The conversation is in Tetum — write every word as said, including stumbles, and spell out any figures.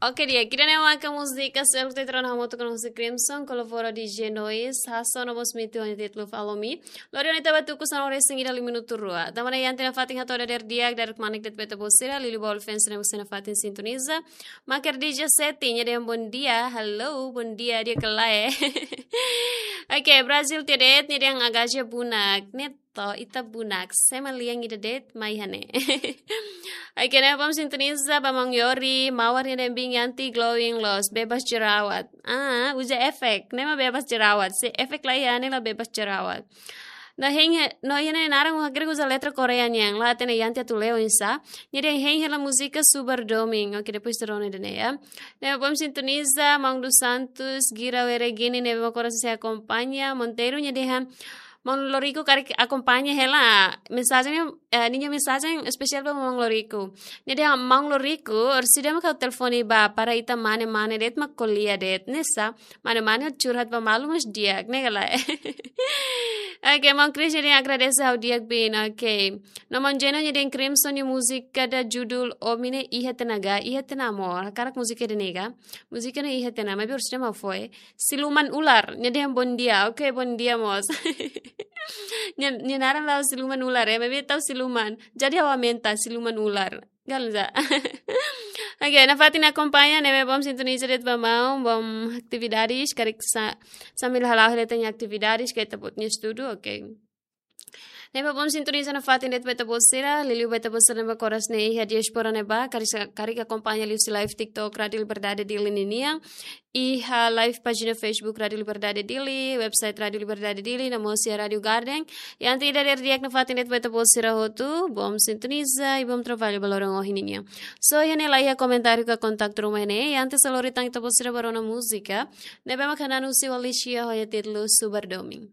Oke, di'ak, ida-ne'e maka múzika seluk Tetra no hamutuk ho Crimson, kolabora D J Noise, hasoru no mós mitu ho nia títulu Follow Me. Lori ona ita ba tuku sanulu-resin-ida liu minutu rua. Tanba ne'e iha ita-nia fatin hato'o dadeer di'ak, dadeer kmanek de'it ba ita-boot sira, liuliu ba ulu-fans ne'ebé sira nafatin sintoniza. Maker D J Seti, nia dehan bom dia, hello, bom dia, di'ak ka lae. Oke, Brazil tiha de'it, nia dehan Agaja Bunak, ne'e to'o ita bunak, sema lian ida de'it mai iha ne'e. Oke, ne'ebé bom sintoniza ba maun Yori, Mawar nia dehan bing anti glowing loos, bebas jerawat. Ah, uza efek, ne'e mak bebas jerawat. Se efek la iha ne'e la bebas jerawat. No hein he, no iha ne'e naran hakerek uza letra Korea nian, la hatene iha ne'e atu lee oinsá. Nia dehan hein hela múzika Subar Domin. Oke, depois ita rona ida-ne'e ya. Ne'ebé bom sintoniza, maun dos Santos, Gira Weregini, ne'ebé mak oras ne'e sei akompaña, Monteiro, nia dehan maun Loriku karik akompaña hela. Mensajen, eh, ninia mensajen espesiál ba maun Loriku. Nia dehan maun Loriku, orsida mak ha'u telefone ba para ita mane-mane de'it mak ko'alia de'it. Ne'e sá, mane-mane curhat ba malu mós di'ak, ne'e ka lae. Oke, maun Chris nia dehan agradese ha'u di'ak bin, oke. No maun Jeno nia dehan Crimson nia múzika ida judul Omi ne'e iha tiha ona ka, iha tiha ona amor. Hakarak múzika ida-ne'e ka. Múzika ne'e iha tiha ona, maibé orsida mak foin. Siluman ular, nia dehan bom dia. Oke, bom dia mós. Nia, nia naran la'o siluman ular, eh, maibé tau siluman. Jadi ha'u aumenta siluman ular. Galu za. Oke, nafatin akompaña, ne'ebé bom sintoniza de'it ba maun, bom atividades, karik sa-, sambil hala'o hela ita-nia atividades, ka ita-boot nia estudu, oke. Ne'ebé bom sintoniza nafatin de'it ba ita-boot sira, liuliu ba ita-boot sira ne'ebé mak oras ne'e iha diáspora ne'ebá, karik sa-, karik akompaña liuhusi live TikTok Rádio Liberdade Dili ninian, iha live pájina Facebook Rádio Liberdade Dili, website Rádio Liberdade Dili, no mós iha Rádio Garden. I ante ida dadeer di'ak nafatin de'it ba ita-boot sira hotu, bom sintoniza, i bom trabalho ba loron ohin ninian. So, iha ne'e la iha komentáriu ka kontaktu ruma iha ne'e, i ante sa lori tan ita-boot sira ba rona múzika, ne'ebé mak hananu husi Alicia ho nia títulu Subar Domin.